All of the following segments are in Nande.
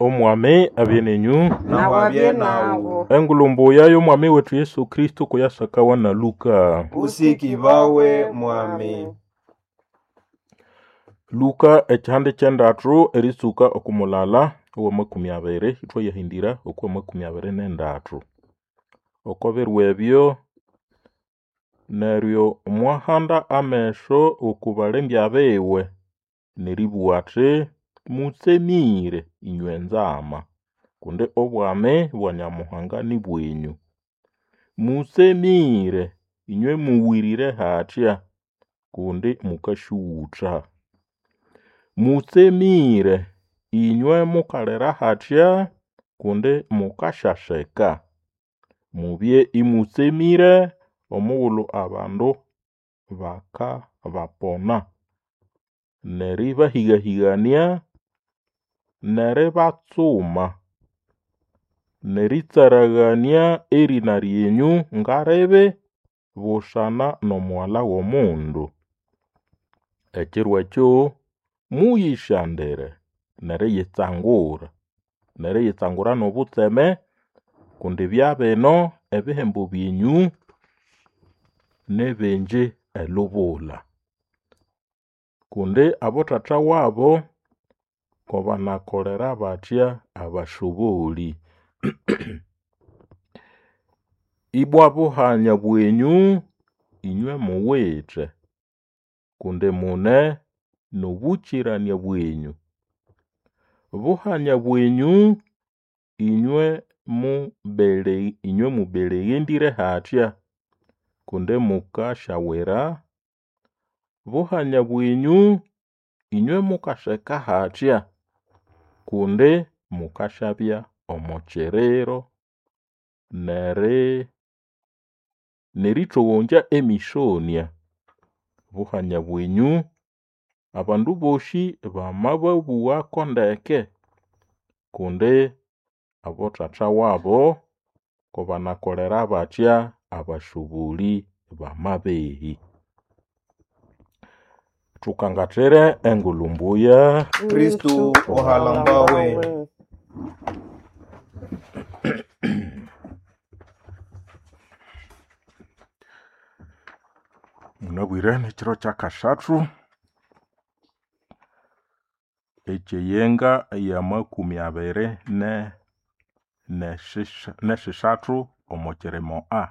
Omwami abye nenyu. Nawe abye nawu. Engulu mbuya y'Omwami wetu Yesu Kristo kuyasakawa na Luka. Usikibawe mwami. Luka ekihande ky'endathu eritsuka okumulala ow'amakumi abiri ithwayahindira okw'amakumi abiri n'endathu. Oko biro ebyo neryo mwahanda ameso oku balembya biwe neribugha athi, mutsemire inywe nzama, kundi obwami bwa Nyamuhanga ni bwenyu. Mutsemire inywe muwirire hathya, kundi mukasyughutha. Mutsemire inywe mukalira hathya, kundi mukasyaseka. Mubye imutsemire omughulhu abandu bakabapona, neribahigahigania, neribatsuma, neritsaragania erina ryenyu ngaribi busana n'Omughalha w'Omundu. Ekiro ekyo muyisyandire neriyitsangura, neriyitsangura n'obutseme kundi byabino ebihembo byenyu nibingi elubula. Kundi abothatha wabo kobanakolera bathya abasoboli. Ibwa buhanya bwenyu inywe muwithe, kundi mune n'obũkĩrania bwenyu. Buhanya bwenyu inywe mubele inywe mubeleghendire hathya, kundi mukasyawira. Buhanya bwenyu inywe mukaseka hathya, kundi mukasyabya omo kiriro nerithogongya emisonya. Buhanya bwenyu abandu bosi bamababughako ndeke, kundi abothatha wabo kobanakolera bathya abasoboli bamabehi. Thukangathire engulhu mbuya. Kristu ohalambawe. Munabwire nekiro kyakasathu ekyeyenga y'amakumi abiri nesisathu omo kirimo A.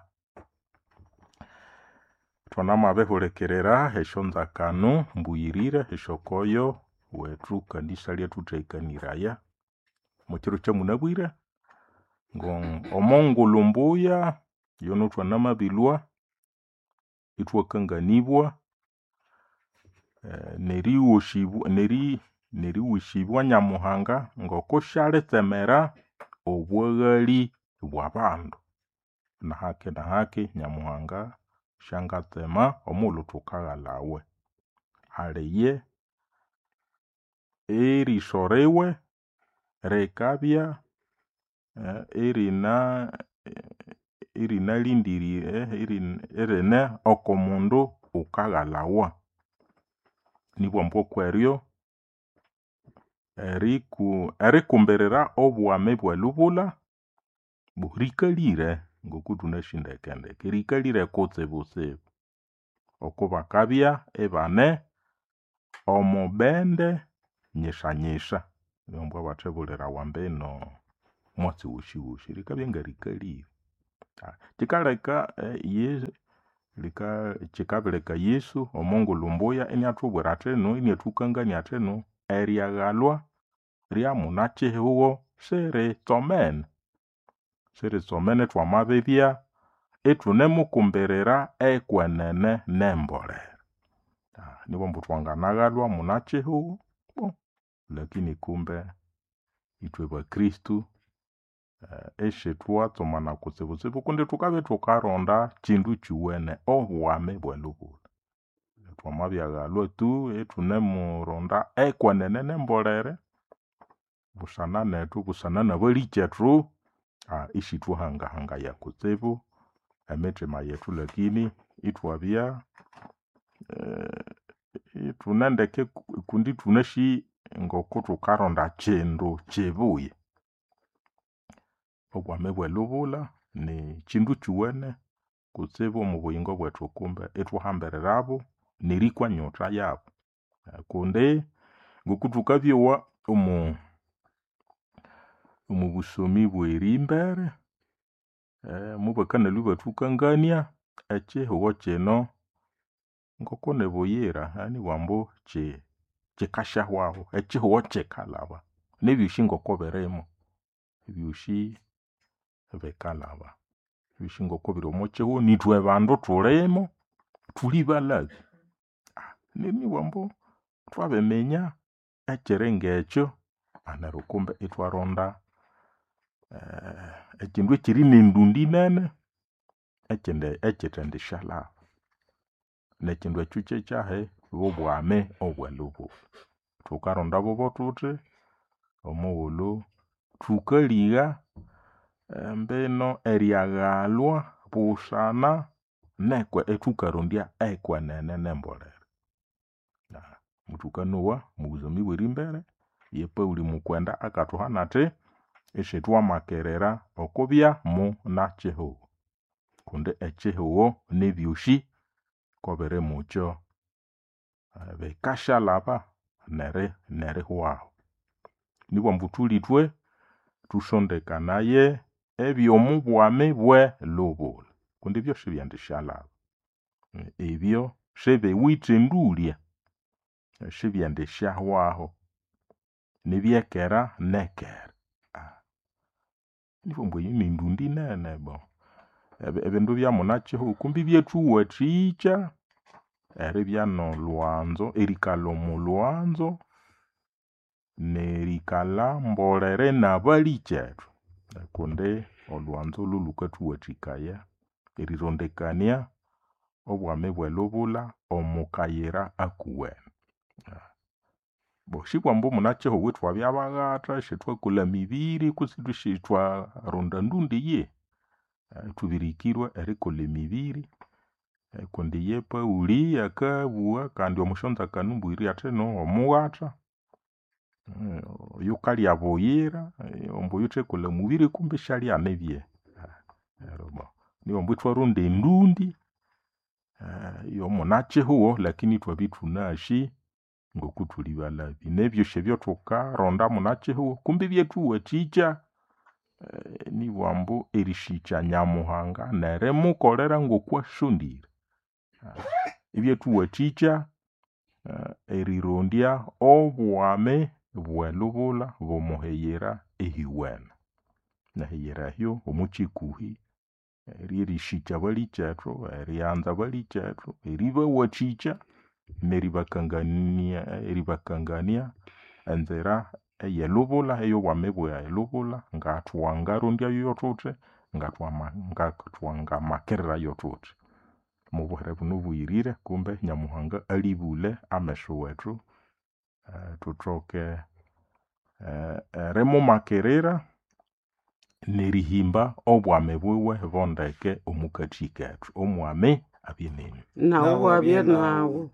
Thwanamabihulikirira esyonzakano mbuyirire esyokoyo wethu kanisa lyathuthekaniraya. Omukiro kyamunabwire ngo omongulhu mbuya yono thwanamabilhwa ithwakanganibwa nerighoshibwa neriwesibwa Nyamuhanga ngokusyalitsemera obwaghali bw'abandu. Nahaki nahaki Nyamuhanga syangatsema omughulhu thukaghalawe. Aliye eriso riwe rikabya erina erinalhindirire erine oko mundu wukaghalawa. Nibwambu okweryo erikumbirira obwami bwelubulha rikalire ngokuthunasi ndekendeke rikalire kutsibutsibu okubakabya ibane omubende nyisanyisa. Ambu abathibulirawa mbino omwatsi wosiwosi rikabya ngarikalire. Kyikaleka kyikabireka Yesu omongulhu mbuya iniathubwira athino iniathukangania athino eryaghalwa ryamunakyihugho siritsomene. Siritsomene thwamabibya ithunemukumbirira ekwenene nembolere. Nibwambu twanganaghalwa munakyihugho lakini kumbe ithwe bakristu isithwatsomana kutsibutsibu kundi thukabya ithukaronda kyindu kyuwene obwami bwelubulha. Thwamabyaghalwa tu ithunemuronda ekwenene nembolere busana nethu busana nabalikyethu isithwahangahangaya kutsibu emithima yethu lakini ithwabya ithunendeke kundi ithunasi ngokuthukaronda kyindu kyibuya. Obwami bwelubulha ni kyindu kyuwene kutsibu omu buyingo bwethu kumbe ithwahambirirabo nerikwa enyotha yabu. Kundi ngokuthukabyowa omu omubusomi bwerimbere, mubakanalhwa ibathukangania ekyihugho kyino ngokunibuyira nibughambu kyikasyahwahu, ekyihugho kyikalhaba nebyosi ngokubirimo, ebyosi bikalhaba. Ebyosi ngokubiri omwakyihugho nithwe bandu thulimo, thuli balhabe. Neryo nibugha ambu thwabiminya ekyiringekyo neryo kumbe ithwaronda ekyindu ekyiri nendundi nene ekyindi ekyithendisyalhaba. Nekyindu ekyo kyekyahi? Bobwami obwelubulha. Thukaronda bobo thuthi omughulhu thukaligha embino eryaghalhwa busana nekwe ithukarondya ekwenene nembolere. Muthukanowa omwabusomi bwerimbere ye Paul mukwenda akathuhana athi isithwamakirira okubya munakyihugho kundi ekyihugho nebyosi kobiri mukyo bikasyalhaba neri nerihwahu. Nibughambu thulithwe thusondekanaye ebyomubwami bwelubulha kundi ebyo sibyendisyalhaba. Ebyo sibiwithe endulya, sibyendisyahwahu, nibyekera nekera. Nibughambu eyo nindundi nene bo. Ebindu byamunakyihugho kumbe ibyathuwathikya eribya nolhwanzo erikalha omolhwanzo nerikalha mbolere nabalikyethu kundi olhwanzo lhulhukathuwathikaya erirondekania obwami bwelubulha omukayira akuwene. Bo sibughambu munakyihugho ithwabya baghatha isithwakolha emibiri kutse isithwaronda ndundi eyihi. Thubirikirwe erikolha emibiri kundi ye Paul akabugha kandi omwasyonzakano mbuyirire athi no omughatha oyukalya buyira ambu oyuthekolha omubiri kumbe isyalyana ebyehe. Neryo bo nibughambu ithwaronda endundi yomunakyihugho lakini ithwabya ithunasi ngokuthuli balhabi. Nebyosi ebyathukaronda munakyihugho kumbe ibyathuwathikya nibughambu erisikya Nyamuhanga nerimukolera ngokwasondire. Ibyathuwathikya erirondya obwami bwelubulha bwomuhiyira ehyuwene. Nehiyira ehyo omwakyikuhi ryerisikya abalikyethu, erianza abalikyethu, eribawathikya neribakangania eribakangania enzira eyelubulha eyobwami bwelubulha ngathwangarondyayo thuthi, ngatwama ngathwangamakirirayo thuthi. Omubuhere buno obughirire kumbe Nyamuhanga alibule amesu wethu thuthoke erimumakirira nerihimba obwami buwe bondeke omukathi kethu. Omwami abye nenywe. Nawu abye nawu.